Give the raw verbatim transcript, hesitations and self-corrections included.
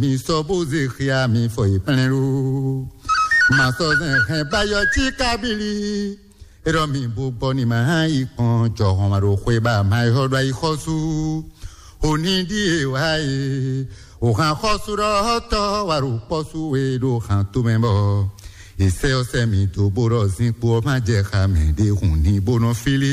Mi sɔ́ bó zé xia mi fɔ yi plɛ́n ɖó. Ma sɔ́ zɛn hɛn bayɔ cí kábílí. É ɖɔ mi bó gbɔ ní ma hán yi kpɔn jɔhɔn ma ɖo xwé ba ma yi hɔ ɖo ayi xɔsú. Òní ɖíe wá e. Òhan xɔsú ɖɔ tɔ́ wa ɖo kpɔ́sú we ɖo han tomɛ bɔ. Ìsɛ ɔsɛ mi dó bó ɖɔ zinkpo ɔ́ má jɛ xa mɛ ɖé hùn ní bó nɔ fílí.